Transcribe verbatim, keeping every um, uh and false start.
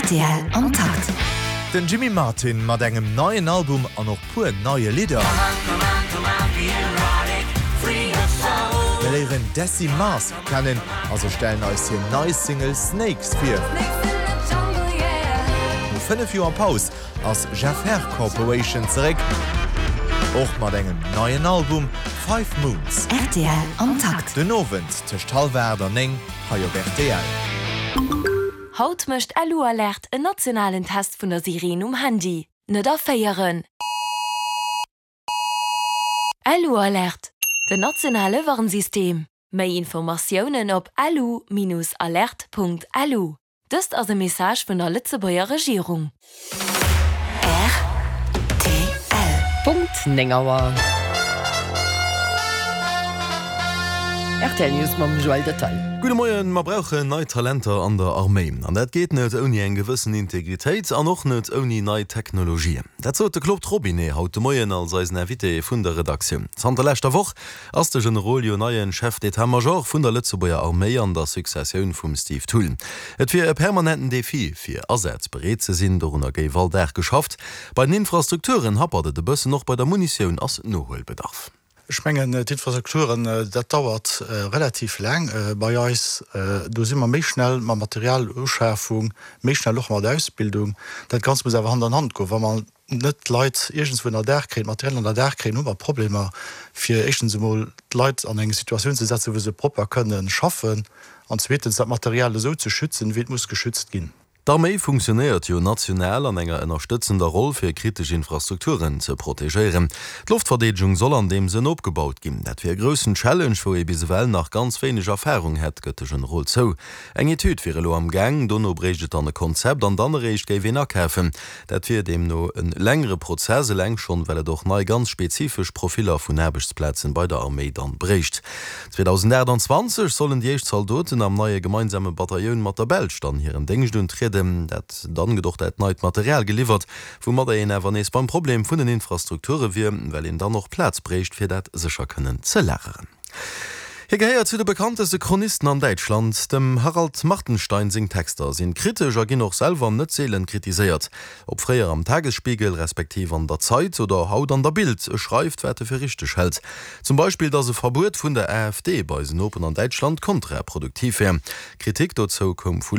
Rtl am Takt. Den Jimmy Martin mat engem neien Album an och puer neie Lidder. Mir léieren Desi Mask kennen a se stellen eis hir nei Single Snakes vir. No fënnef Joer Paus ass Jeff Herr Corporation zeréck. Och mat engem neien Album Five Moons. Rtl am Takt. Den Owend tëscht hallwer aacht an néng hei op rtl. Haut mécht Lu-Alert en nationalen Test vun der Sireen um Handy. Net erféieren. Lu-Alert, den nationale Warnsystem. Méi Informatiounen op lu-alert.lu. Dëst ass e Message vun der Lëtzebuerger Regierung. Rtl. Punkt néng Auer. Rtl News mam Joël Detail. Gudde Moien, Mer brauchen nei Talenter an der Arméi. An dat geet net ouni eng gewëssen Integritéit an och net ouni nei Technologien. Dat sot de Claude Robinet haut de Moien als eisen Invité vun der Redaktioun. Zanter leschter Woch ass de Generol jo neien Chef d'état-major vun der Lëtzebuerger Arméi an der Successioun vum Steve Thull. Et wier e permanenten Defi fir asazbereet ze sinn, dorunner géif all Dag geschafft. Bei den Infrastrukturen happert et e bëssen, och bei der Munitioun ass Nohuelbedarf. Ech mengen, d'Infrastrukturen, dat dauert relativ laang bei eis. Do si mer méi schnell mat Materialuschafung, méi schnell och mat Ausbildung. Dat Ganzt muss awer Hand an Hand goen. Wa mer net d'Leit iergendswou ënnerdaach kréien, d'Material ënnerdaach kréien, hu mer Problemer, fir éischtens emol d'Leit an eng Situatioun ze setzen, wou se propper kënnen schaffen, an zweetens dat Material esou ze schützen, wéi et muss geschützt ginn. D'Arméi funktionéiert jo national an enger ënnerstëtzender Roll fir kritesch Infrastrukturen ze protegéieren. D'Loftverdeedegung soll an deem Sënn opgebaut ginn. Dat wier e groussen Challenge, wou ee bis ewell nach ganz wéineg Erfarung hätt, gëtt de Generol zou. Eng Etüd wier elo am Gaang, dono bréicht et dann e Konzept an dann eréischt géif een akafen. Dat wier deemno e längere Prozess, eleng schonn well et och nei ganz spezifesch Profiller vun Aarbechtsplazen bei der Arméi dann bréicht. zweedausendaachtanzwanzeg sollen déi éischt Zaldoten am neie gemeinsame Batailloun mat der Belsch dann hiren Déngscht untrieden. Dat dann gëtt och dat neit Material geliwwert, woumadder een awer nees beim Problem vun den Infrastrukture wier, well een dann och Plaz bréicht, fir dat sécher kënnen ze lageren. Hie gehéiert zu de bekannteste Chronisten an Däitschland. Dem Harald Martenstein seng Texter sinn kritesch a ginn och selwer net seelen kritiséiert. Ob fréier am Tagesspiegel respektiv an der Zeit oder haut an der Bild, e schreift, wat e fir richteg hält. Zum Beispill, datt e Verbuet vun der A F D bei eisen Nopen an Däitschland kontraproduktiv wär. Kritik dozou koum vu.